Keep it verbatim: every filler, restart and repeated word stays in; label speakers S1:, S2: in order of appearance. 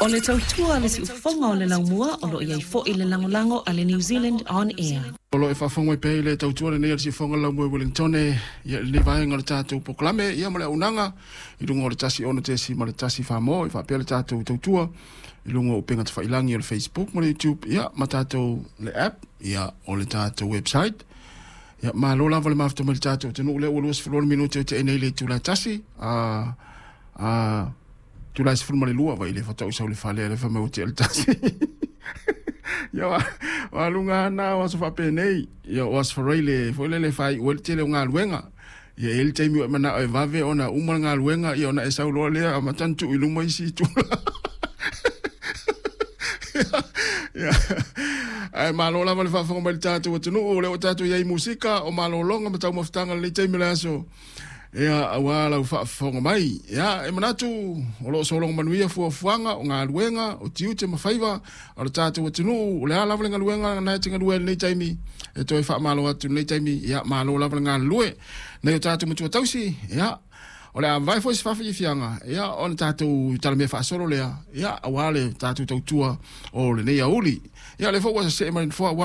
S1: O le tautua a le siufofoga o le laumua o loo iai foi le lagolago a le New Zealand On Air.
S2: O lo e faafofoga mai pea i le tautua lenei a le siufofoga o le laumua i Wellingtone, ia lenei vaega o le tatou polokalame, ia ma le auaunaga i luga o le tasi ono tesi ma le tasi fa-mo, e faapea le tatou tautua i luga o upega tafailagi o le Facebook ma le YouTube, ia ma tatou le app, ia o le tatou website. Ia malo lava le mafuta mai le tatou atunuu lea ua luasefulu minute o tea nei le itula e tasi, a a itula e sefulu ma le lua vai le faatoa ou sau i le fale le fai mai ua tea le tasi. Ia o aluga lava na o aso faapenei, ia o aso Faraile foi lele e faaiu ai le tele o galuega. Ia e i ai le taimi ua e manao e vave ona uma le galuega, ia ona e sau loa lea amata ona tuu i luma isi itula. Ae malo lava le faafofoga mai i le tatou atunuu, o lea ua tatou i ai i musika o malologa ma taumafataga i lenei taimi o le aso. Ia, aua lau faafofoga mai. Ia, e manatu o lo o sologa manuia fuafuaga o galuega, o tiute ma faiva o le tatou atunuu. O le a lava le galuega na e te galue ai i lenei taimi, e toe faamalo atu i lenei taimi. Ia, malo lava le galulue. Nai o tatou matua tausi, ia, o le a vavae foi se faafiafiaga, ia, ona tatou talamea faasolo lea, ia, aua le tatou tautua o lenei aoauli. Ia, o lea foi ua see mai le nofoa.